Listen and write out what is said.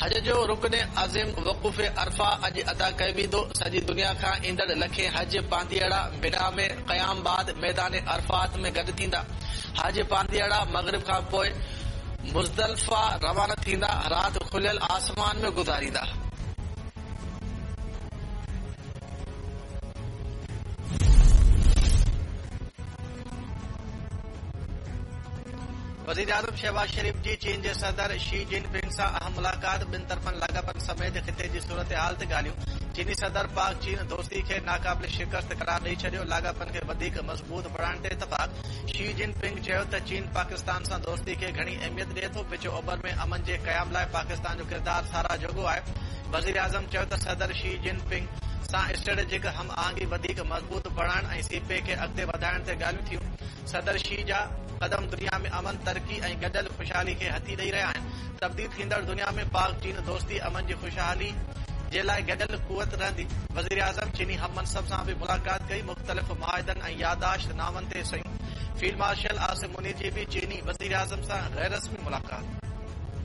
حج جو رڪن عظيم وقوف عرفه اڄ ادا ڪيو ويندو، سڄي دنيا کان ايندڙ لکين حج پانڌيئڙا منيٰ ۾ قيام بعد ميدان عرفات ۾ گڏ ٿيندا. حج پانڌيئڙا مغرب کان پوء مزدلفه روانا ٿيندا، رات کليل آسمان ۾ گذاريندا. وزيراعظم شهباز شريف جي چين جي صدر شي جن پنگ سان اهم ملاقات، ٻن طرفن لاڳاپن سميت خطي جي صورتحال تي ڳالهيون، چيني صدر پاڪ چين دوستي کي ناقابل شڪست قرار ڏئي ڇڏيو، لاڳاپن کي وڌيڪ مضبوط بڻائڻ تي اتفاق، شي جن پنگ چيو ته چين پاڪستان سان دوستي کي گهڻي اهميت ڏئي ٿو، وچ اوڀر ۾ امن جي قيام لاء پاڪستان جو ڪردار ساراهه جوڳو آهي، وزيراعظم چيو ته صدر شي جن پنگ سان اسٽريٽجڪ هم آهنگي وڌيڪ مضبوط بڻائڻ ۽ سي پيڪ کي اڳتي وڌائڻ تي ڳالهيون ٿيون. صدر شي جا قدم دنيا ۾ امن، ترقي ۽ گڏيل خوشحالي کي هٿي ڏئي رهيا آهن، تبديل ٿيندڙ دنيا ۾ پاڪ چين دوستي امن جي خوشحالي جي لاء گڏيل قوت رهندي. وزيراعظم چيني هم منصب سان به ملاقات ڪئي، مختلف معاهدن ۽ يادداشت نامن تي صحيحون، فيلڊ مارشل عاصم منير جي به چيني وزيراعظم سان غيررسمي ملاقات.